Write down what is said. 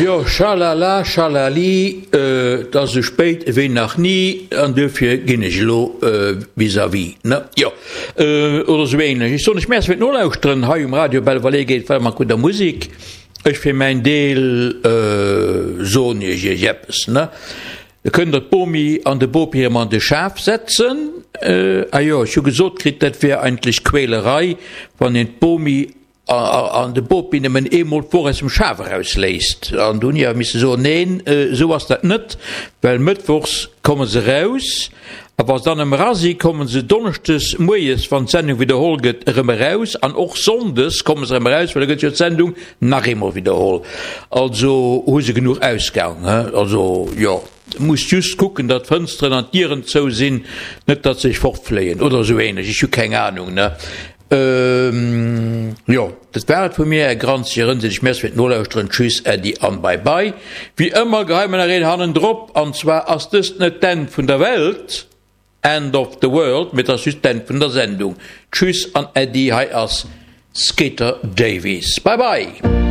Jo, schalala, schalali, et ass esou spéit ewéi nach ni, an duerfir ginn ech elo vis-à-vis, ne? Jo, oder esou ähnlech. Ech soen lech Merci fir d'Nolauschteren hei um Radio Belval. Geet weider mat gudder Musek. Ech fir mäin Deel soen iech iech eppes, ne? Da kënnt der d'Bomi an de Bopi erëm an de Schaf setzen. Ah jo, ech hu gesot kritt, dat wär eigentlech Quälerei, wann een d'Bomi an de Bopi nëmmen eemol d'Woch aus dem Schaf erausléisst. An do hunn ech awer misse soen, Neen, esou ass dat net, well mëttwochs komme se eraus a wa se dann erëm era si, komme se donneschdes moies, wann d'Sendung widderholl gëtt, erëm eraus an och sonndes komme se erëm eraus, well da gëtt jo d'Sendung nach eemol widderholl. Also hu se genuch Ausgang. Also jo, musst just kucken, datt d'Fënsteren an d'Dieren zou sinn, net datt se sech fortfléien oder esou ähnlech, ech hu keng Ahnung, ne. Jo, dat war et vu mir. Är granzeg Erënserlech Merci fir d'Nolauschteren. Tschüss, Äddi an Bye Bye. Wéi ëmmer geheie mer nach een hannendrop, an zwar ass dëst net d'Enn vun der Welt, End of the World, mee et ass just d'Enn vun der Sendung. Tschüss an Äddi, hei ass Skeeter Davies. Bye Bye!